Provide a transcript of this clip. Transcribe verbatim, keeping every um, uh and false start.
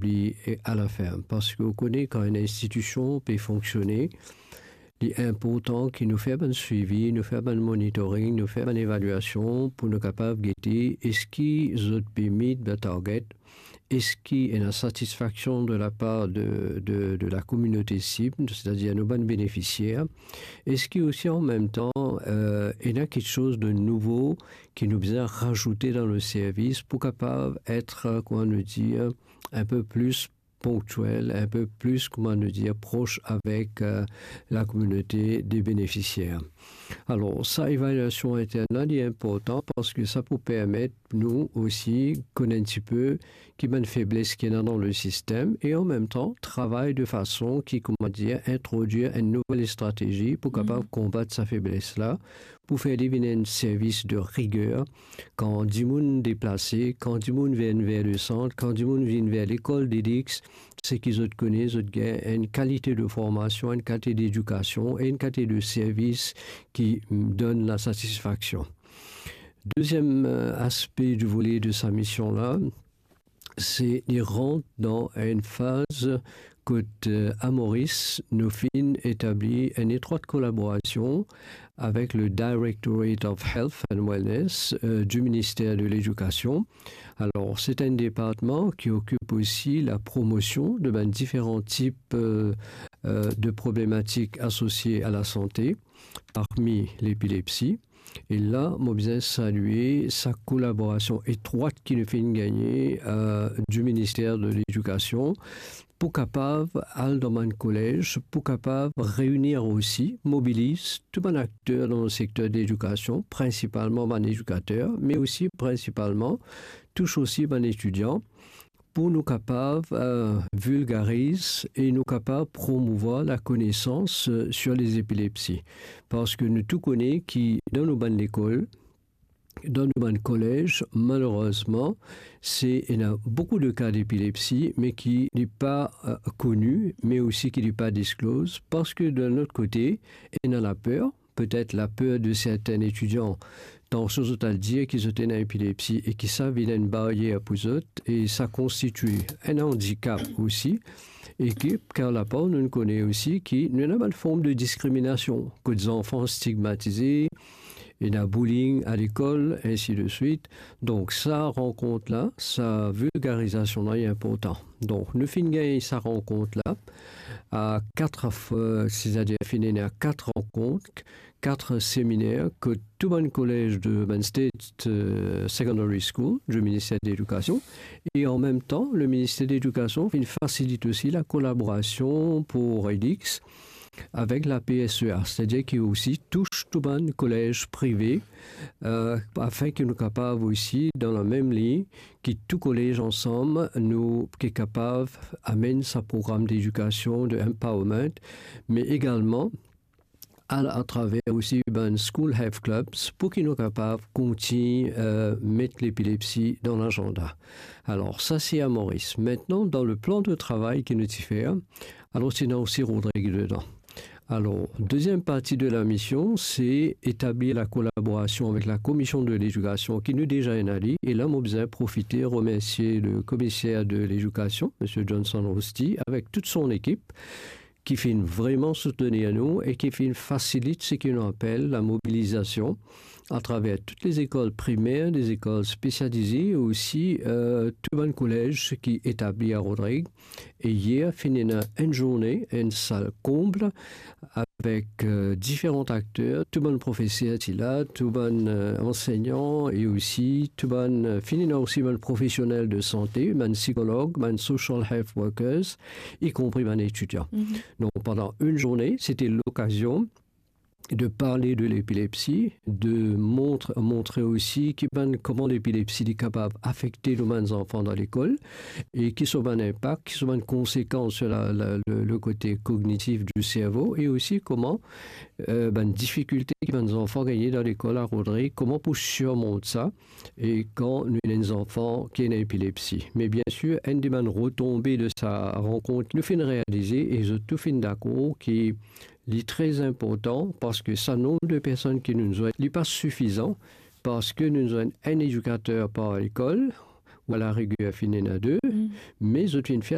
etabli e a laferm. Parski ou kone kan enn institision pe fonksione, li inportan ki nou fer bann swivi, nou fer bann monitoring, nou fer bann evaliasion pou nou kapav gete eski zot pe meet their target, eski ena satisfaksion de lapar de, de, de lakominote sib, setadir nou bann benefisier, eski osi an mem tan, eh, ena kiksoz de nouvo ki nou bizin razoute dan le servis pou kapav et, eh, kouma nou dir, un peu plus ponktiel, un peu plus, kouma nou dir, pros avek, eh, lakominote de benefisier. Alor, sa evaliasion intern la, li inportan parski sa pou permet nou osi konn enn tipe ki bann febles ki ena dan le sistem e an mem tan travay de fason ki, kouma dir, introdwir enn nouvel stratezi pou kapav konbat sa febles la, pou fer li vinn enn servis de riger. Kan dimoun deplase, kan dimoun vinn ver le sant, kan dimoun vinn ver lekol Delix, seki zot kone, zot gagn enn kalite de formasion, enn kalite dedikasion e enn kalite de servis ki, mm, donn lasatisfaksion. Deziem, eh, aspe di vole de sa mision la, se li rant dan enn faz kot, eh, a Moris, nou finn etabli enn etrwat kolaborasion avek le Directorate of Health and Wellness, eh, di Minister de Ledikasion. Alor, se enn departman ki okip osi lapromosion de bann diferan tip, eh, eh, de problematik asosie a lasante, parmi lepilepsi. E la, mo bizin salye sa kolaborasion etrwat ki nou finn gagne, eh, di Minister de Ledikasion pou kapav al dan bann kolez, pou kapav reini osi, mobiliz tou bann akter dan le sekter de ledikasion, prinsipalman bann edikater, me osi prinsipalman tous osi bann etidian, pou nou kapav, eh, vilgariz e nou kapav promouvwar lakonesans, eh, sur les épilepsies. Parski nou tou kone ki dan nou bann lekol, dan nou bann kolez, malerezman, se, ena boukou de ka depilepsi, me ki li pa, eh, koni, me osi ki li pa diskloz, parski de lot kote, ena laper, petet laper de sertin etidian, tansion zot al dir ki zot ena epilepsi e ki sa vinn enn baryer pou zot, e sa konstitye enn andikap osi, e ki, kar lapar nou kone osi ki nou ena bann form de diskriminasion, kot zanfan stigmatize, ena bullying a lekol, ensi de swit. Donk, sa rankont la, sa vilgarizasion la, li inportan. Donk, nou finn gagn sa rankont la, a kat f-, setadir finn ena kat rankont, kat seminer, kot tou bann kolez de bann State, eh, Secondary School, di Minister de Ledikasion, e an mem tan, le Minister de Ledikasion finn fasilit osi lakolaborasion pou Redix avek la P S E A, setadir ki osi tous tou bann kolez prive, eh, afin ki nou kapav osi, dan lamem liy, ki tou kolez ansam, nou ki kapav amenn sa program dedikasion, de empowerment, me egalman al atraver osi bann school health clubs pou ki nou kapav kontign, eh, met lepilepsi dan lazanda. Alor, sa se a Moris. Aster, dan le plan de travay ki nou ti fer, alor, ti ena osi Rodrig dedan. Alor, deziem parti de lamision, se etablir lakolaborasion avek la Komision de Ledikasion ki nou deza ena li, e la, mo bizin profite remersie le Komiser de Ledikasion, Misie Johnson Rosti, avek tout son ekip, ki finn vreman soutenir nou e ki finn fasilit seki nou apel lamobilizasion atraver tout lezekol primer, lezekol spesialize, e osi, eh, tou bann kolez ki etabli a Rodrig. E yer, finn ena enn zourne, enn sal konb, avek, eh, diferan akter, tou bann profeser ti la, tou bann, eh, ansegnan, e osi tou bann, eh, finn ena osi bann profesionel de sante, bann sikolog, bann social health workers, ikonpri bann etidian. Donk, pandan enn zourne, sete lokazion de parle de lepilepsi, de montre, montre osi ki bann, kouma lepilepsi li kapav afekte nou bann zanfan dan lekol, e ki so bann inpak, ki so bann konsekans sur la, la, le, le kote kognitif di servo, e osi kouma, eh, bann difikilte ki bann zanfan gagne dan lekol a Rodrig, kouma pou sirmont sa, e kan nou ena enn zanfan ki ena epilepsi. Me biensir, enn de bann retonbe de sa rankont, nou finn realize, e zot tou finn dakor ki li tre inportan, parski sa nonb de personn ki nou zwenn, li pa sifizan, parski nou zwenn enn edikater par lekol, ou a lariger finn ena de, me zot finn fer